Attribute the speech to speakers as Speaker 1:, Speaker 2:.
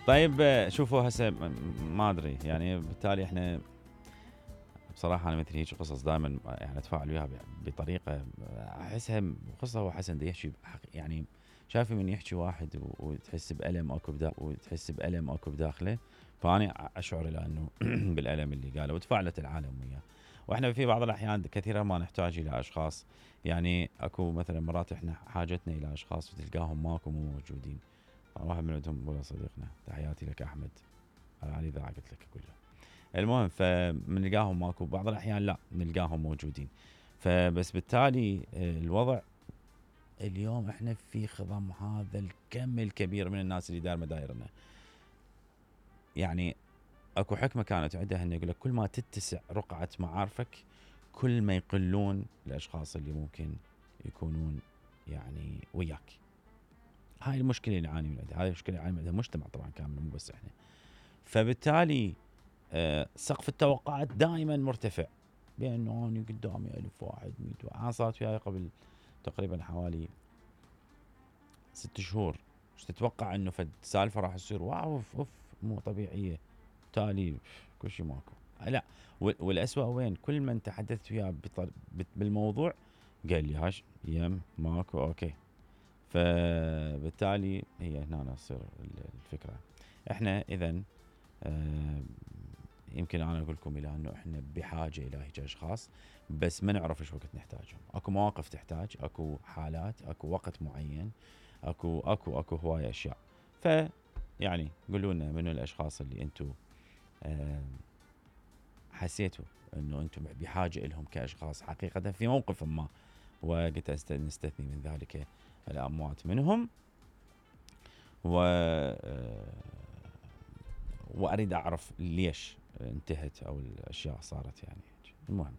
Speaker 1: طيب شوفوا هسه ما ادري يعني بالتالي احنا بصراحه انا مثل هيك قصص دائما يعني اتفاعل وياها بطريقه احسها قصه. هو حسن ده يحكي يعني شايف من يحكي واحد وتحس بألم اكو بداخله، فاني اشعر الى انه بالألم اللي قاله وتفاعلت العالم وياه. واحنا في بعض الاحيان كثيرا ما نحتاج الى اشخاص، يعني اكو مثلا مرات احنا حاجتنا الى اشخاص وتلقاهم ماكو مو موجودين. واحد من عندهم هو صديقنا، تحياتي لك احمد، على اذا قلت لك كله. المهم فمنلقاهم ماكو، بعض الاحيان لا نلقاهم موجودين. فبس بالتالي الوضع اليوم احنا في خضم هذا الكم الكبير من الناس اللي داير مدايرنا. يعني اكو حكمه كانت عندها انه يقول لك كل ما تتسع رقعه معارفك كل ما يقلون الاشخاص اللي ممكن يكونون يعني وياك. هاي المشكله اللي نعاني منها، هاي المشكله اللي نعاني منها المجتمع طبعا كامل مو بس احنا. فبالتالي سقف التوقعات دائما مرتفع، بانه اني قدامي 1000 واحد 100 واحد. انا صارت وياي قبل تقريبا حوالي 6 شهور. ايش تتوقع انه فد سالفه راح تصير واو اوف مو طبيعيه، تالي كل شيء ماكو. لا والاسوء وين؟ كل من تحدثت وياه بالموضوع قال لي هاش يم ماكو اوكي. فبالتالي هي هنا تصير الفكره. احنا اذا يمكن انا اقول لكم الى انه احنا بحاجه الى هيك اشخاص، بس ما نعرف ايش وقت نحتاجهم. اكو مواقف تحتاج، اكو حالات، اكو وقت معين، اكو هوايه اشياء. ف يعني قولوا لنا منو الاشخاص اللي انتم حسيتوا انه انتم بحاجه لهم كاشخاص حقيقه في موقف ما، وقلت نستثني من ذلك الاموات منهم، واريد اعرف ليش انتهت او الاشياء صارت يعني. المهم